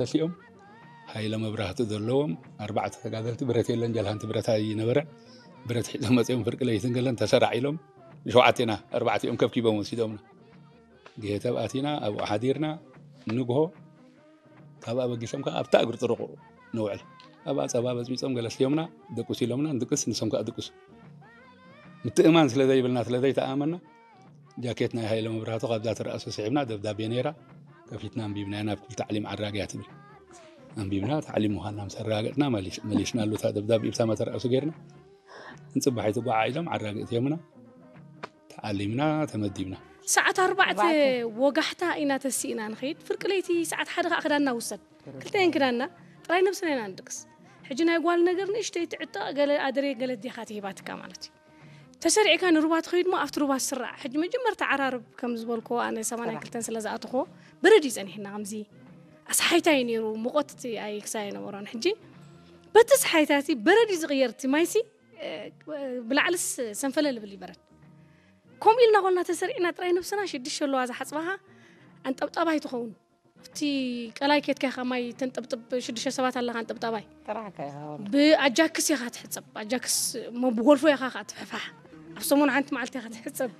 ተሲኦም፣ ሃይለ መብራህቲ ዘለዎም ኣርባዕተ ተጋደልቲ፣ ብረት የለን፣ ጀልሃንቲ ብረት ኣይነበረ፣ ብረት ሒዞም መፂኦም፣ ፍርቂ ለይትን ገለን ተሰራዕ ኢሎም፣ ሸውዓቴና ኣርባዕቲኦም ከብኪቦም ወሲዶምና። ግሄተብ ኣቲና ኣብኡ ሓዲርና፣ ንግሆ ካብ ኣበጊሶም ከዓ ኣብታ እግሪ ጥርቑ ንውዕል። ኣብኣ ፀባ በፅቢፆም ገለ ስዮምና፣ ድቁስ ኢሎምና፣ ንድቅስ፣ ንሶም ከዓ ድቅሱ። ምትእማን ስለ ዘይብልና፣ ስለ ዘይተኣመና፣ ጃኬት ናይ ሃይለ መብራህቱ ካብዛ ትረኣሱ ስሒብና፣ ደብዳቤ ነይራ፣ ከፊትና ኣንቢብናያ፣ ናብ ክፍሊ ታዕሊም ዓራግያ ትብል። ኣንቢብና፣ ታዕሊም ምዃንና ምስ ኣረጋገጽና፣ መሊስ-፣ መሊስናሉ፣ እታ ደብዳቤ ብታ መተርኣሱ ጌርና፣ ንጽባሒቱ ጓዓ ኢሎም ዓራግእት ዮምና፣ ተዓሊምና፣ ተመዲብና። ሰዓት ኣርባዕተ ኣርባዕተ። ወጋሕታ ኢና ተሲእና ንኸይድ። ፍርቂ ለይቲ ሰዓት ሓደ ኸዓ ክዳንና ውሰድ። ክልተየን ክዳንና ጥራይ ነብስና ኢና ንድቅስ። ሕጂ ናይ ጓል ነገር ንእሽተይ ትዕጠቕ፣ ገለ ኣደሬ፣ ገለ ኣዴኻ ትሂባትካ ማለት እዩ። ተሰሪዕካ ንሩባ ትኸይድ እሞ ኣብቲ ሩባ ትስራዕ። ሕጂ መጀመርታ ዓራርብ ከም ዝበልክዎ ኣነ ሰማንያን ክልተን ስለ ዝኣተኽዎ በረድ እዩ ጸኒሕና። ከምዚ ኣስሓይታ እዩ ነይሩ፣ ሙቐት እቲ ኣይክሳይ ኣይነበሮን። ሕጂ በቲ ኣስሓይታ እቲ በረድ እዩ ዝቕየር፣ እቲ ማይሲ፣ እ፣ ብላዕልስ ሰንፈለል ይብል እዩ በረድ። ከምኡ ኢልና ኮልና ተሰሪዕና ጥራይ ነብስና ሽዱሽተ ኣለዋ ዝሓጽባኻ ኣንጠብጣባይ ትኸውን። ኣብቲ ቀላይ ኬድካ ኢኻ ማይ ተንጠብጥብ፣ ሽዱሽተ ሰባት ኣለኻ ኣንጠብጣባይ። ጥራሕካ ኢኻ ወላ። ብኣጃክስ ኢኻ ትሕጸብ። ኣጃክስ እሞ ብጎልፎ ኢኻ ኸኣ ትፍሕፋሕ። ኣብ ሰሙን ሓንቲ መዓልቲ ኢኻ ትሕጸብ።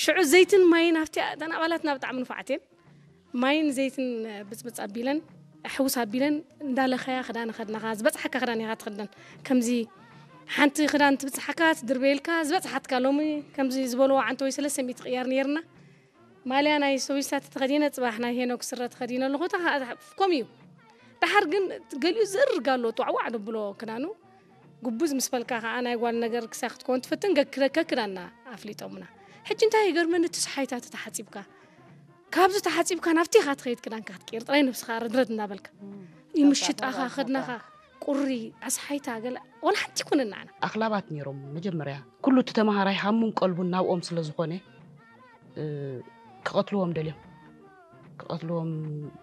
ሽዑ ዘይትን ማይን ኣብቲ፣ እተን ኣባላትና ብጣዕሚ ንፉዓት እየን። ማይን ዘይትን ብጽብጽ ኣቢለን፣ ኣሕውስ ኣቢለን እንዳለኸያ ክዳን ከድናኻ፣ ዝበጽሓካ ክዳን ኢኻ ትኽደን። ከምዚ ሓንቲ ክዳን ትብጽሓካ፣ ትድርበየልካ፣ ዝበጽሓትካ ሎሚ ከምዚ ዝበልዎ ዓንተ ወይ ሰለስተ ሚእቲ ቅያር ነይርና። ማልያ ናይ ሶቪስታት ተኸዲነ፣ ጽባሕ ናይ ሄኖክ ስረ ተኸዲነ ኣለኹ። እታ ኸኣ ከምኡ እዩ። ደሓር ግን ገሊኡ ዝእርግ ኣሎ፣ ጧዕዋዕ ደብሎ ክዳኑ። ጉቡዝ ምስ በልካ ኸኣ ናይ ጓል ነገር ክሳይ ክትከውን ትፍትን፣ ገ-፣ ከክዳና ኣፍሊጦምና። ሕጂ እንታይ ይገርመኒ፣ እቲ ሰሓይታት ተሓጺብካ፣ ካብዚ ተሓጺብካ ናብቲ ኢኻ ትኸይድ፣ ክዳንካ ክትቅይር፣ ጥራይ ነብስኻ ረድረድ እናበልካ። እም። ይምሽጣኻ፣ ካብታ ኸድናኻ፣ ቁሪ፣ ኣስሓይታ፣ ገለ፣ ወላ ሓንቲ ይኩነን ንዓና። ኣኽላባት ነይሮም መጀመርያ። ኩሉ እቲ ተመሃራይ ሃሙን ቀልቡን ናብኦም ስለ ዝኾነ፣ እ፣ ክቐትልዎም ደልዮም። ክቐትልዎም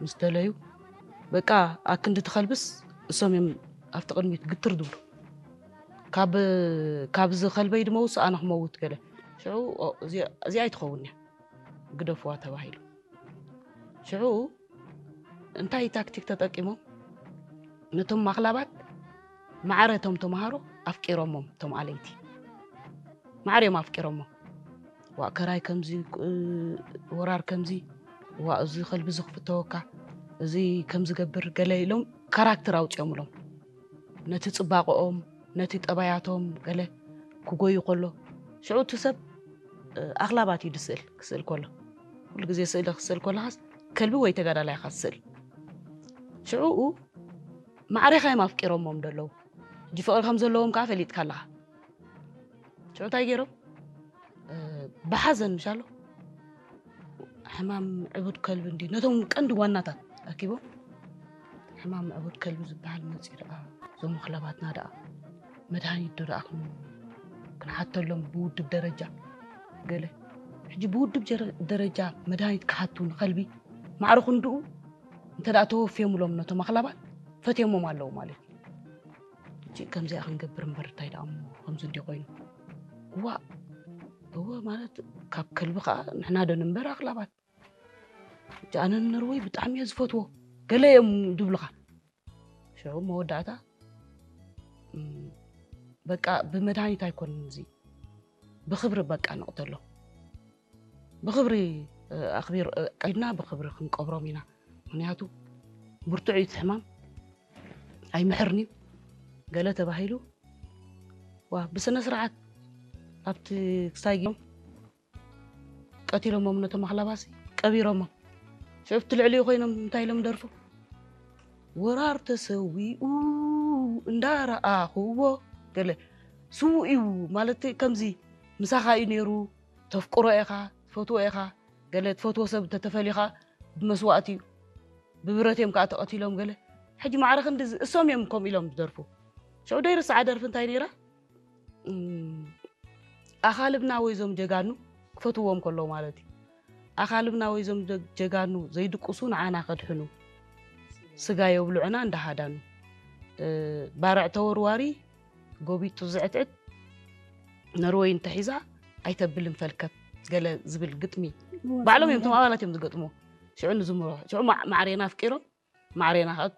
ምስ ደለዩ፣ በቃ፣ ኣክንዲ ትኸልብስ፣ እሶም እዮም ኣብቲ ቅድሚት ግትር ዝብሉ። ካብ፣ ካብ ዝኸልበይ ድመውስ ኣነ ክመውት ገለ። ሽዑ፣ ኦ፣ እዚኣ፣ እዚኣ ኣይትኸውን እያ፣ ግደፍዋ ተባሂሉ። ሽዑ እንታይ ታክቲክ ተጠቂሞም? ነቶም ማኽላባት ማዕረ እቶም ተምሃሮ ኣፍቂሮሞም፣ እቶም ኣለይቲ ማዕረ እዮም ኣፍቂሮሞም። ዋእ ከራይ ከምዚ፣ እ፣ ወራር ከምዚ፣ ዋእ እዚ ከልቢ እዚ ክፍተወካ፣ እዚ ከምዚ ገብር ገለ ኢሎም ካራክተር ኣውፂኦምሎም። ነቲ ፅባቐኦም፣ ነቲ ጠባያቶም ገለ ክጎዩ ከሎ፣ ሽዑ እቲ ሰብ፣ እ፣ ኣኽላባት እዩ ዝስእል፣ ክስእል ከሎ። ኩሉ ግዜ ስእሊ ክስእል ከለኻስ ከልቢ ወይ ተጋዳላይ ኢኻ ትስእል። ሽዑኡ ማዕሬኻ እዮም ኣፍቂሮሞም ደለዉ። ሕጂ ፍቕሪ ከም ዘለዎም ከኣ ፈሊጥካ ኣለኻ። ሽዑ እንታይ ገይሮም? እ፣ ብሓዘን ምሻሎ፣ ሕማም ዕቡድ ከልቢ እንዲ ነቶም ቀንዲ ዋናታት ኣኪቦም፣ ሕማም ዕቡድ ከልቢ ዝበሃል መፂኡ ደኣ፣ እዞም ወኽለባትና ደኣ መድሃኒት ዶ ደኣ ክን-፣ ክንሓተሎም ብውድብ ደረጃ ገለ። ሕጂ ብውድብ ጀረ-፣ ደረጃ መድሃኒት ክሓቱ ንኸልቢ ማዕረ ክንድኡ እንተ ደኣ ተወፍዮምሎም ነቶም ኣኽላባት ፈትዮሞም ኣለዉ ማለት እዩ። ሕጂ ከምዚኣ ክንገብር እምበር እንታይ ደኣ እሞ ከምዚ እንዲ ኮይኑ። እዋ፣ እወ ማለት ካብ ከልቢ ኸኣ ንሕና ዶ ንንበር ኣኽላባት። ሕጂ ኣነ ንነርወይ ብጣዕሚ እየ ዝፈትዎ። ገለ እዮም ድብሉኻ። ሽዑ መወዳእታ፣ እም፣ በቃ ብመድሃኒት ኣይኮንን እዚ። ብኽብሪ በቃ ንቕተሎ። ብኽብሪ፣ እ፣ ኣኽቢር፣ እ፣ ቀይድና ብኽብሪ ክንቀብሮም ኢና። ምኽንያቱ ብርቱዕ እዩ እቲ ሕማም። ኣይምሕርን እዩ። ገለ ተባሂሉ፣ ዋ፣ ብስነ ስርዓት ኣብቲ ክሳይ ገይሮም ቀቲሎሞም ነቶም ኣኽላባሲ ቀቢሮሞም። ሽዑ ኣብቲ ልዕሊኡ ኮይኖም እንታይ ኢሎም ደርፉ? ወራር ተሰዊኡ እንዳረኣኽዎ ገለ ስዉእ እዩ ማለት ከምዚ ምሳኻ እዩ ነይሩ፣ ተፍቅሮ ኢኻ፣ ትፈትዎ ኢኻ፣ ገለ ትፈትዎ ሰብ እንተተፈልዩ ኸኣ ብመስዋእቲ እዩ። ብብረት እዮም ከኣ ተቐቲሎም ገለ። ሕጂ ማዕረ ክንዲ ዝ-፣ እሶም እዮም ከምኡ ኢሎም ዝደርፉ። ሽዑ ደይርስዓ ደርፊ እንታይ ነይራ? እም፣ ኣኻልብና ወይ እዞም ጀጋኑ ክፈትዎም ከለዉ ማለት እዩ። ኣኻልብና ወይ እዞም ጀ-፣ ጀጋኑ ዘይድቅሱ ንዓና ከድሕኑ ስጋ የብልዑና እንዳሃዳኑ። እ፣ ባርዕ ተወርዋሪ ጎቢጡ ዝዕትዕት ነርወይ እንተሒዛ ኣይተብልን ፈልከት ገለ ዝብል ግጥሚ ባዕሎም እዮም እቶም ኣባላት እዮም ዝገጥምዎ። ሽዑ ንዝምሮ፣ ሽዑ ማ-፣ ማዕሬና ኣፍቂሮም ማዕሬና ከዓ